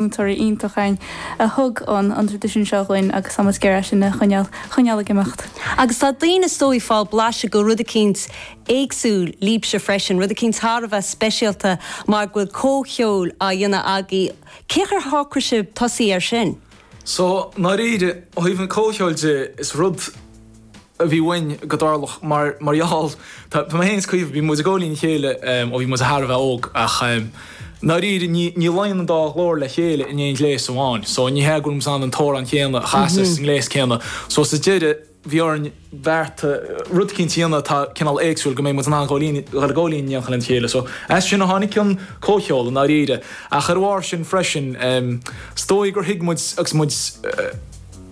Múinteoirí iontach againn a thug an an traidisiún seo dhúinn agus tá muid ag iarraidh é sin a choinneáil choinneáil ag imeacht. Agus tá daoine is dóigh ag fáil blaiseadh go rud eicínt éagsúil libhse freisin, rud eicínt thar a bheith speisialta mar go bhfuil comhcheol á dhéanamh agaibh. Cén chaoi ar shocraigh sibh tosaí air sin? So, ndáiríre, ó thaobh an comhcheoil de, is rud. a bhí uainn go dtarlódh mar mar gheall tá mé féin is Caoimhe bhí muid ag gabháil fhoinn le chéile ó bhí muid thar a bheith óg ach ndáiríre ní ní luíonn an dá ghlór le chéile in aon ghléas amháin so ní hea go bhfuil muid in ann an t-amhrán céanna a chasadh sa ngléas céanna so sa deireadh bhí orainn beartú rud eicínt a dhéanamh atá cineál éagsúil go mbeidh muid in ann dhul ag gabháil fhoinn in éineacht lena chéile so as sin a tháinig an comhcheol i ndáiríre ach ar a bharr sin freisin is dóigh gur thuig muid agus muid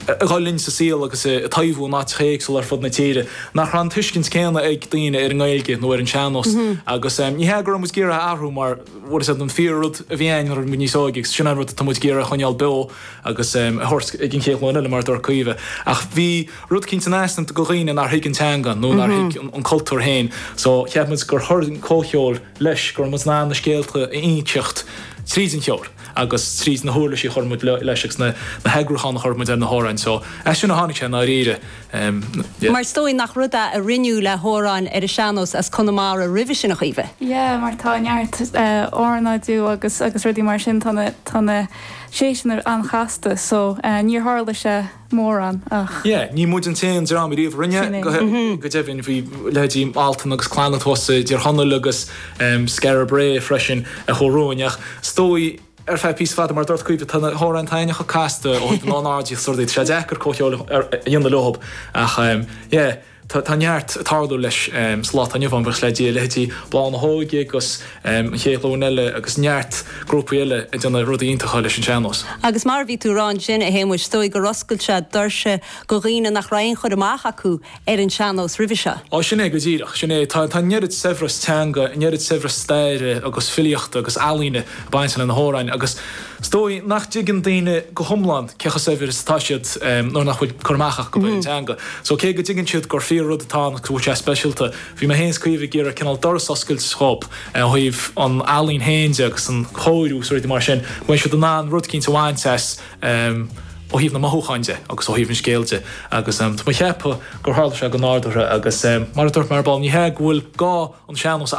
ag dul linn sa saol agus ag taibhiú in áiteacha éagsúla ar fud na tíre, nach raibh an tuiscint céanna ag daoine ar an nGaeilge nó ar an sean-nós. Agus ní hea go raibh muid ag iarraidh a athrú mar bhfuil a fhios agat an fíor-rud a bhí ann nuair a bhí muid níos óige agus sin an rud atá muid ag iarraidh a choinneáil beo agus a thabhairt ag an chéad ghlúin eile mar a dúirt Caoimhe. Ach bhí rud eicínt in easnamh do dhaoine nár thuig an teanga nó nár thuig an cultúr féin. So cheap muid gur chuir an comhcheol leis, go raibh muid in ann na scéalta a inseacht tríd an cheol. agus tríd na huirlisí a chuir muid leis agus na heagrúcháin a chuir muid ar na hamhráin. So, as sin a tháinig sé i ndáiríre. Yeah. Mar is dóigh nach rud é a rinneadh le hamhráin ar an sean-nós as Conamara roimhe sin, a Chaoimhe? Yeah, mar tá neart ornáidiú agus agus rudaí mar sin, tá na tá na séiseanna an-chasta so níor tharla sé mórán ach. Yeah, ní muid an t-aon dream ariamh a rinne, go deimhin bhí leithéidí Altan agus Clannad thuas i dTír Chonaill agus Skara Brae freisin a chuaigh romhainn ach is dóigh ar feadh píosa fada mar a dúirt Caoimhe tá na hamhráin taitneamhacha casta ó thaobh na n-ornáidí is rudaí, tá sé deacair comhcheol a dhéanamh leo ach yeah. Tá neart ag tarlú leis sa lá atá inniu ann, buíochas le Dia, leithéidí Bláth na hÓige agus An Chéad Ghlúin Eile agus neart grúpaí eile ag déanamh rudaí iontacha leis an sean-nós. Agus mar a bhí tú a rá ansin, a Shéamuis, is dóigh gur oscail sé doirse go dhaoine nach raibh aon chur amach acu ar an sean-nós roimhe seo. Á, sin é go díreach, sin é. Tá an oiread saibhreas teanga, an oiread saibhreas staire agus filíochta agus ealaíne ag baint le na hamhráin agus Is dóigh nach dtuigeann daoine go hiomlán cé chomh saibhir is atá siad nuair nach bhfuil cur amach acu ar an teanga. So cé go dtuigeann siad gur fíor rud atá ann agus go bhfuil sé speisialta, bhí mé féin is Caoimhe ag iarraidh cineál doras a oscailt dhób ó thaobh an ealaín féin de agus an chóiriú is rudaí mar sin, go mbeidh siad in ann rud eicínt a bhaint as ó thaobh na mothúcháin de agus ó thaobh an scéil de. Agus tá mé ag ceapadh gur tharla sé go nádúrtha agus mar a dúirt mé ar ball, ní hea go bhfuil gá an sean-nós a.